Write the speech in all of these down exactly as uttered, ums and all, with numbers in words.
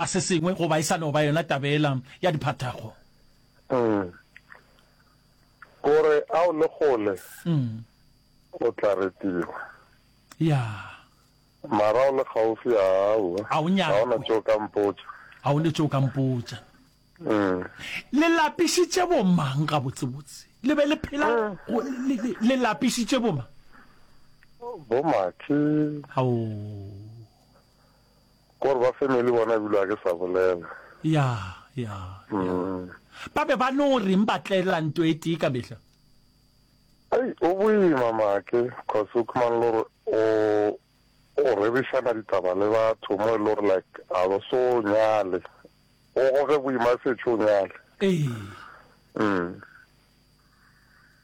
Se sengwe goba e sa no ba yona taba yela ya diphathago. Mm. Gore a o le kgole, Mm. o tla retiwa. Ya. Mara o le kgaufi, aowa. A o Ga o na nyakwe. tšeo ka mpotša. A o ne tšeo ka mpotša. Mm. Le lapišitše bomang gabotsebotse? Le be le phela Mm. go, le, le, le lapišitše bomang? Bomakhi. Ao. Kore ba family bona ebile ga ke sa bolela. Ya, ya, ya. Mm. Ba be ba no reng ba tlela nto e tee ka mehla? Ei, o boima Make, cause o khumana le gore o o rerišana ditaba le batho mo e le gore like a ba so nyale. O goge boima a setše o nyale. Ee. Mm.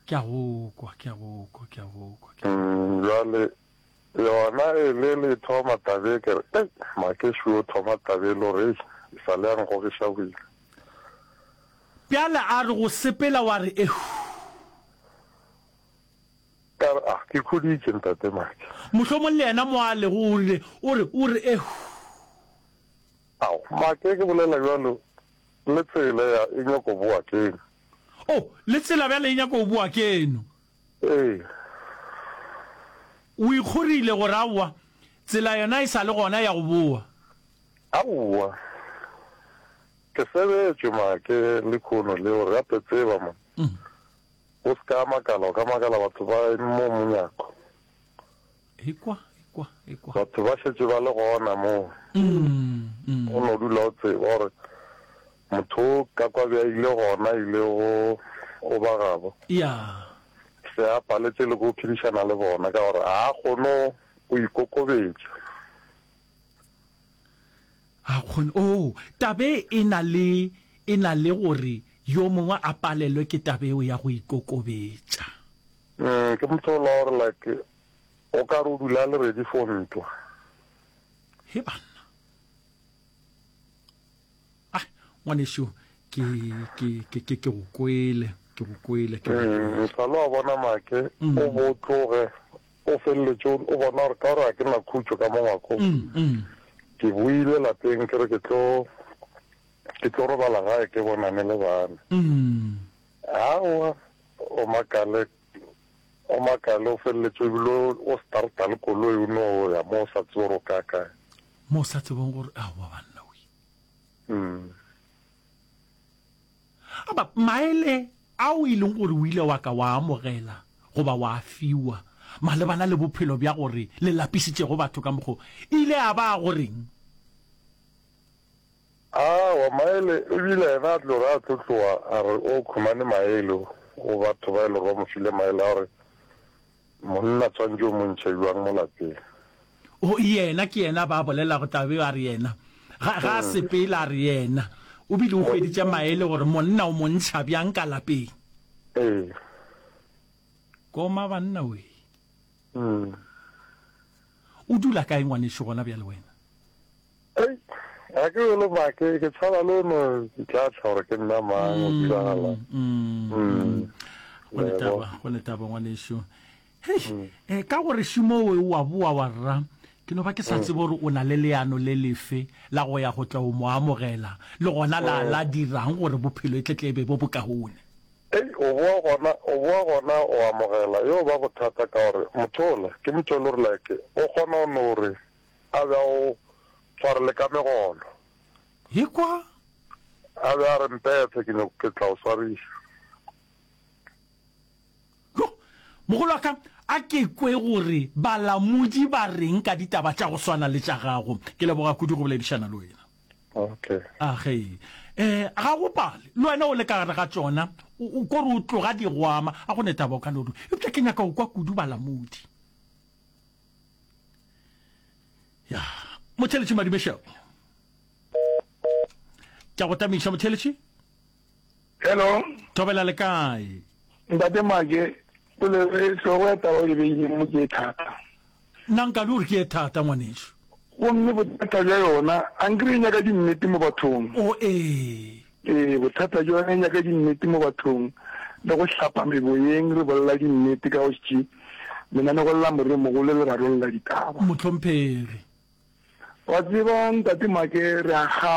Ke a go kwa, ke a go kwa, ke a go kwa, ke a go kwa. Mm, bjale Yona e le le thoma tabe ke re, Ei, Makešu o thoma tabe e le gore, ei, e sa le ya nkgogiša boima. Bjale a re go sepela wa re, Ehu. Ka re, Ah, ke khuditše, Ntate Make. Mohlomong le yena mo a lego o rile, o re, o re, Ehu. Ao, Make, ke bolela bjalo, le tsela ya e nyako boa keno. Oh, le tsela bjale e nyako boa keno. Ee. O ikgorile gore aowa, tsela yona e sa le gona ya go boa. Aowa. Ke sebetšwe make lekhono leo re gape tseba mo. O se ka makala, o ka makala batho ba eme mo monyako. Ekwa, ekwa, ekwa. Batho ba šetše ba le gona mo. O no dula o tseba gore motho o ka kwa bja ile gona ile go o ba gabo. Ya. Se a paletše le go phedišana le bona ka gore ga a kgone go ikokobetša. A kgone, oo, taba e e na le, e na le gore yo mongwe a palelwe ke taba eo ya go ikokobetša. Mm, ke motho ola gore like o ka re o dula a le ready for ntwa. He banna. Ah, ngwanešu, ke, ke, ke, ke, ke go kwele, ke go kwele, ke go Mm, kwele. sa le wa bona Make, Mm. o bo tloge o feleletše o o bona gore ka gore ga ke na khutšo ka mo ngwakong. Mm, mm. Ke boile lapeng ke re ke tlo ke tlo robala gae ke bonane le bana. Mm. Aowa, o makale o makale o feleletše ebile o o starta le koloi o no ya mo o sa tsebe gore o ka kae. Mo o sa tsebeng gore aowa banna we. Mm. Aba maele ao e leng gore o ile wa ka wa amogela goba wa fiwa malebana le bophelo bja gore le lapišitšego batho ka mokgo, e ile a ba a goreng? Aowa, maele ebile yena a tlo re a tlo tloga a re o khumane maele go batho ba e le gore ba mo file maele a gore monna tshwantše o mo ntšhe bjang mo lapeng. O, yena ke yena ba bolelago taba eo a re yena ga, ga a sepela a re yena o bile o hweditše maele gore monna o mo ntšha bjang ka lapeng. Ee. Koma banna wee. Mm. O dula kae ngwanešu gona bjale wena? Ei, ga ke bjalo make, ke tshaba le no itlatla gore ke nna mang, o diragalang. Mm, Mm. Go ne Lebo. taba, go ne taba ngwanešu. Hei, eh, ka gore šimo we wa boa wa rra, ke no ba ke sa tsebe gore o na le leano le lefe la go ya go tla o mo amogela, le gona la, la dirang gore bophelo e tle tle e be bo bokaone. Ei, o boa gona, o boa gona o amogela, yo ba bothata ka gore motho ola, ke motho e le gore like, o kgona go no re a be a o tshwarele ka megolo. Ekwa? A be a re mpephe ke nyoko ke tla o swariša. Yo, mogolo wa ka, a ke kwe gore balamodi ba reng ka ditaba tša go swana le tša gago. Ke leboga kudu go boledišana le wena. Okay. A ge, eh, ga go pale, le wena o le ka gare ga tšona, o, o kore o tloga di go ama, a go ne taba o ka no re, eupša ke nyaka go kwa kudu balamodi. Ya, motheletši Madumešao. Ke a go tamiša motheletši. Hello. Thobela le kae? Ntate Make, polelo e hlogo ya taba o e beileng mo ke e thata. Nna nka le gore ke e thata ngwanešu. Gomme bothata bja yona, a nkere e nyaka dinnete mo bathong. O ee. Ee, bothata bja yona e nyaka dinnete mo bathong, le go hlapa meboyeng re bolela dinnete ka go tše lenanego la moremogolo le rarolla ditaba. Mohlomphegi. Wa tseba Ntate Make re a kgala.